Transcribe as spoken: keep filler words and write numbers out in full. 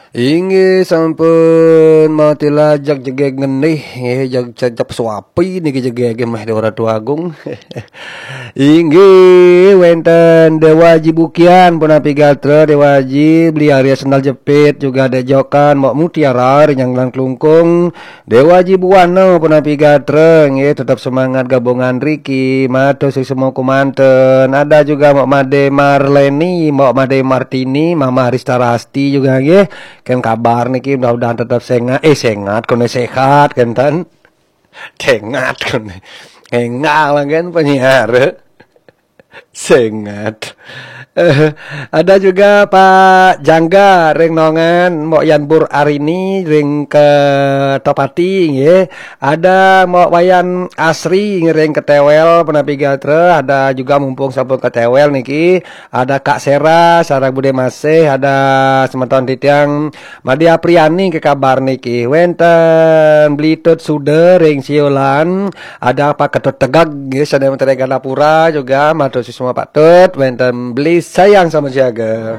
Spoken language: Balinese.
Inggih sampun mati lajak jegeg ngenih, nggih, jag cecep suapi niki jegege meh Dewa Ratu Agung. Inggih wenten Dewa Aji Bukian punapi gatra, Dewa Aji beli Arya sendal jepit juga ada jokan Mbok Mutiara ring Nyanggelan Klungkung, Dewa Aji Buana punapi gatra, nggih, tetap semangat gabungan riki, matur suksma kumanten. Ada juga Mbok Made Marleni, Mbok Made Martini, Mama Rista Rasti juga, nggih. Ken kabar niki mudah-mudahan tetap sengat, eh, sengat, kone sehat, kenten. Tengat, kone. Enggak lah, kan, penyiar. Sengat. Eh, ada juga Pak Jangga ring Nongan, Mbok Yan Bur Arini ring Ketopati, nggih. Ada Mbok Wayan Asri ring Ketewel, punapi gatra. Ada juga mumpung sampun Ketewel niki, ada Kak Sera, sareng Bude Masih, ada semeton titiang Made Apriani ke kabar niki. Wenten Beli Tut Suda ring Siolan, ada Pak Ketut Tegag, nggih, sane wenten ring Gandapura juga, matur suksma Pak Tut, wenten Beli Sayang sama siaga.